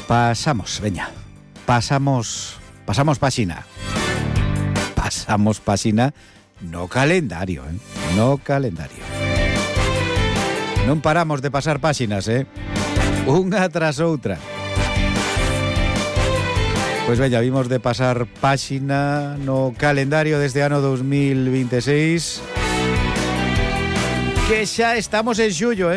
Pasamos, veña. Pasamos páxina. Pasamos páxina no calendario, no calendario. Non paramos de pasar páxinas, unha tras outra. Pois veña, vimos de pasar páxina no calendario desde ano 2026, que xa estamos en xullo,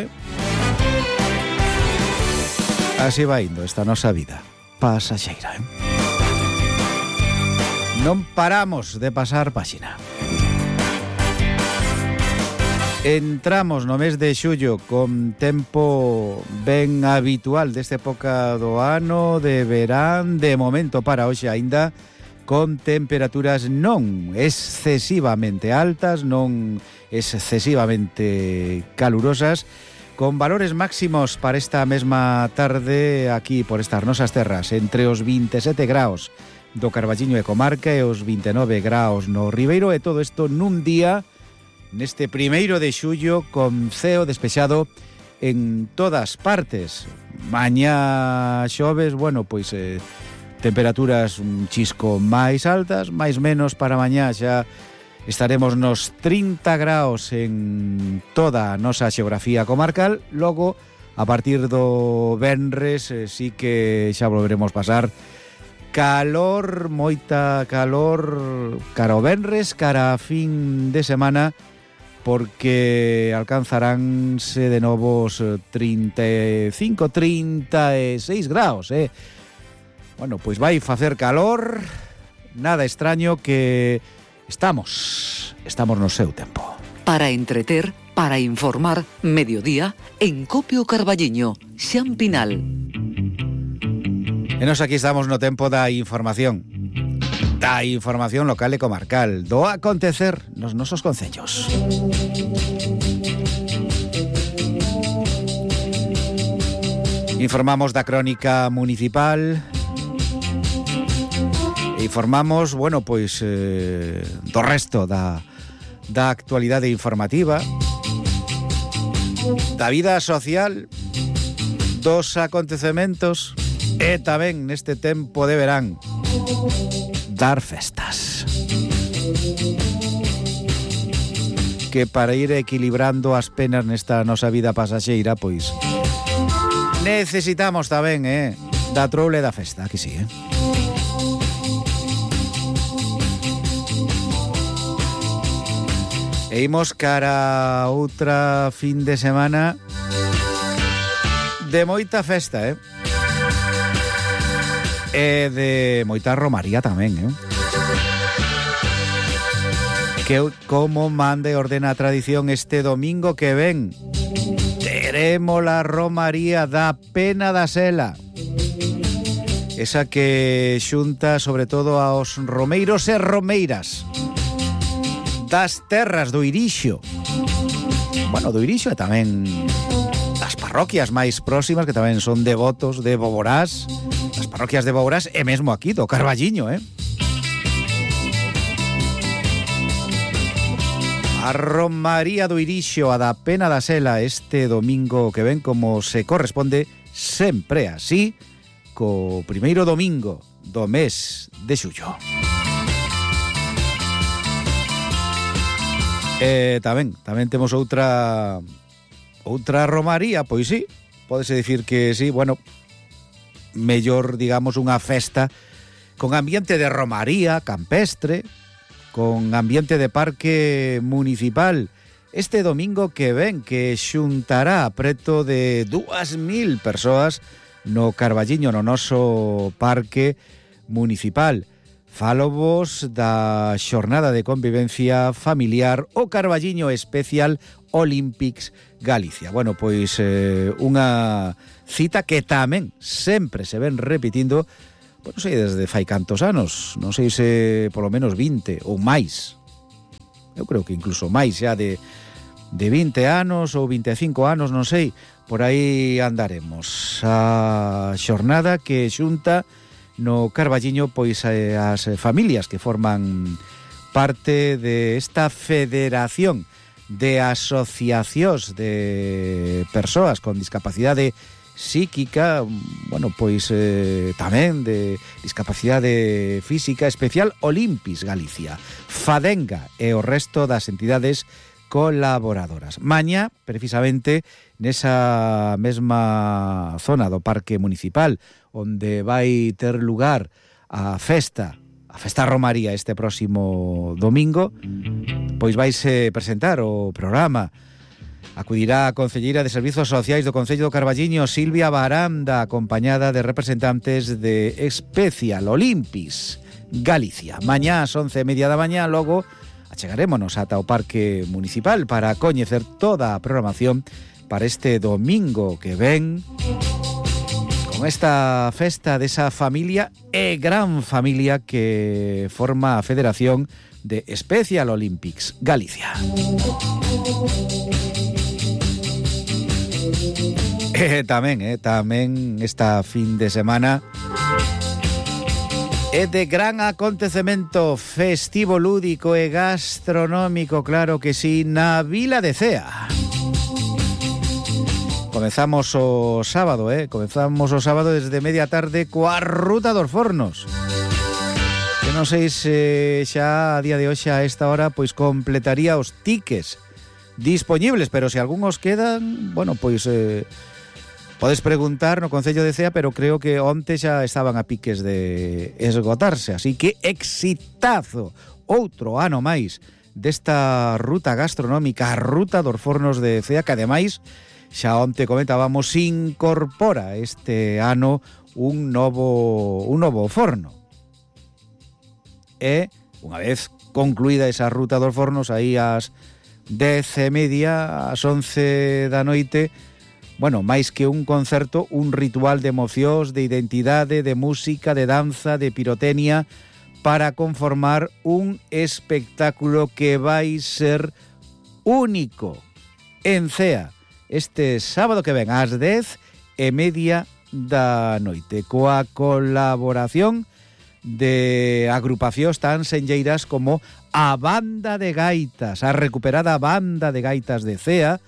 Así va indo esta nosa vida pasaxeira, Non paramos de pasar páxina. Entramos no mes de xullo con tempo ben habitual desta época do ano, de verán, de momento para hoxe aínda, con temperaturas non excesivamente altas, non excesivamente calurosas, con valores máximos para esta mesma tarde aquí por estas nosas terras, entre os 27 graos do Carballiño e comarca e os 29 graos no Ribeiro, e todo isto nun día neste 1 de xullo con ceo despexado en todas partes. Mañá xoves, pois temperaturas un chisco máis altas, máis menos para mañá xa estaremos nos 30 graos en toda a nosa xeografía comarcal. Logo, a partir do venres, sí que xa volveremos pasar calor, moita calor cara o venres, cara a fin de semana, porque alcanzaránse de novos 35, 36 graos, pois vai facer calor, nada extraño que estamos no seu tempo. Para entreter, para informar, mediodía, en Copio Carballiño, Xan Pinal. E nos aquí estamos no tempo da información local e comarcal, do acontecer nos nosos concellos. Informamos da crónica municipal, informamos, do resto da actualidade informativa, da vida social, dos acontecementos e tamén neste tempo de verán dar festas, que para ir equilibrando as penas nesta nosa vida pasaxeira, pois necesitamos tamén da troule da festa, aquí sí, E imos cara a outra fin de semana de moita festa, E de moita romaría tamén, Que como manda e ordena a tradición, este domingo que ven teremos a romaría da Pena da Sela, esa que xunta sobre todo aos romeiros e romeiras das terras do Irixo, do Irixo e tamén das parroquias máis próximas, que tamén son devotos de Boborás, as parroquias de Boborás e mesmo aquí do Carballiño, A romaría do Irixo, a da Pena da Sela, este domingo que ven, como se corresponde sempre así, co primeiro domingo do mes de xullo. Tamén temos outra romaría, pois sí, pódese dicir que sí, mellor, digamos, unha festa con ambiente de romaría campestre, con ambiente de parque municipal, este domingo que ven, que xuntará preto de 2.000 persoas no Carballiño, no noso parque municipal. Fálovos da xornada de convivencia familiar o Carballiño Special Olympics Galicia. Pois unha cita que tamén sempre se ven repetindo, non sei desde fai cantos anos, non sei se polo menos 20 ou máis. Eu creo que incluso máis xa de 20 anos ou 25 anos, non sei, por aí andaremos. A xornada que xunta no Carballiño pois as familias que forman parte de esta federación de asociacións de persoas con discapacidade psíquica, bueno, pois tamén de discapacidade física, especial Olimpis Galicia, Fadenga e o resto das entidades colaboradoras. Mañá, precisamente, nesa mesma zona do Parque Municipal, onde vai ter lugar a festa Romaría este próximo domingo, pois vaise presentar o programa. Acudirá a concelleira de Servizos Sociais do Concello do Carballiño, Silvia Baranda, acompañada de representantes de Especial Olimpis Galicia. Mañá ás 11:30 da mañá, logo achegarémonos ata o Parque Municipal para coñecer toda a programación para este domingo que ven, con esta festa desa familia e gran familia que forma a Federación de Special Olympics Galicia. Tamén esta fin de semana é de gran acontecemento festivo, lúdico e gastronómico, claro que sí, na Vila de Cea. Comezamos o sábado desde media tarde coa Ruta dos Fornos. Que non sei se xa a día de hoxe a esta hora pois completaría os tickets dispoñibles, pero se algúns quedan, bueno, pois podes preguntar no Concello de Cea, pero creo que onte xa estaban a piques de esgotarse, así que exitazo, outro ano máis desta ruta gastronómica, a Ruta dos Fornos de Cea, que ademais xa onte comentábamos, incorpora este ano un novo forno. E unha vez concluída esa Ruta dos Fornos, aí ás 10:30, ás 11 da noite, bueno, máis que un concerto, un ritual de emocións, de identidade, de música, de danza, de pirotecnia, para conformar un espectáculo que vai ser único en Cea este sábado que ven ás 10:30 da noite, coa colaboración de agrupacións tan senlleiras como a Banda de Gaitas, a recuperada Banda de Gaitas de Cea,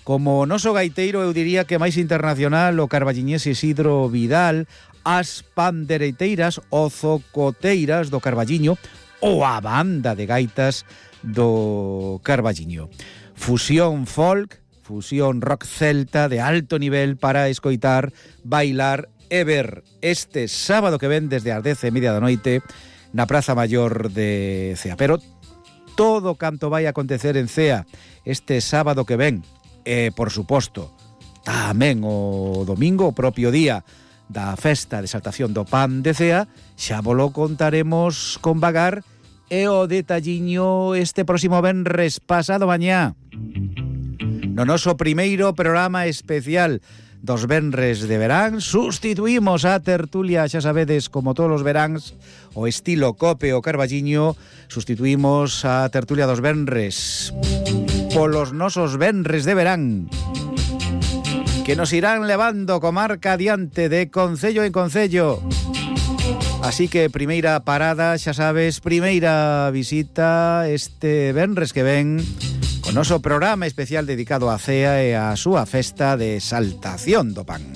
como o noso gaiteiro, eu diría que máis internacional, o carballiñés Isidro Vidal, as pandereteiras o zocoteiras do Carballiño, ou a Banda de Gaitas do Carballiño. Fusión folk, fusión rock celta de alto nivel para escoitar, bailar e ver este sábado que ven desde as 10:30 da noite na Praza Maior de Cea. Pero todo canto vai acontecer en Cea este sábado que ven, e, por suposto, tamén o domingo, o propio día da festa de exaltación do pan de Cea, xa volo contaremos con vagar e o detalliño este próximo venres pasado mañá. No noso primeiro programa especial dos venres de verán, sustituímos a tertulia, xa sabedes, como todos os veráns, o estilo Cope o Carballiño, sustituímos a tertulia dos venres polos nosos venres de verán, que nos irán levando comarca adiante de concello en concello. Así que primeira parada, xa sabes, primeira visita este venres que ven, con noso programa especial dedicado a Cea e a súa festa de exaltación do pan.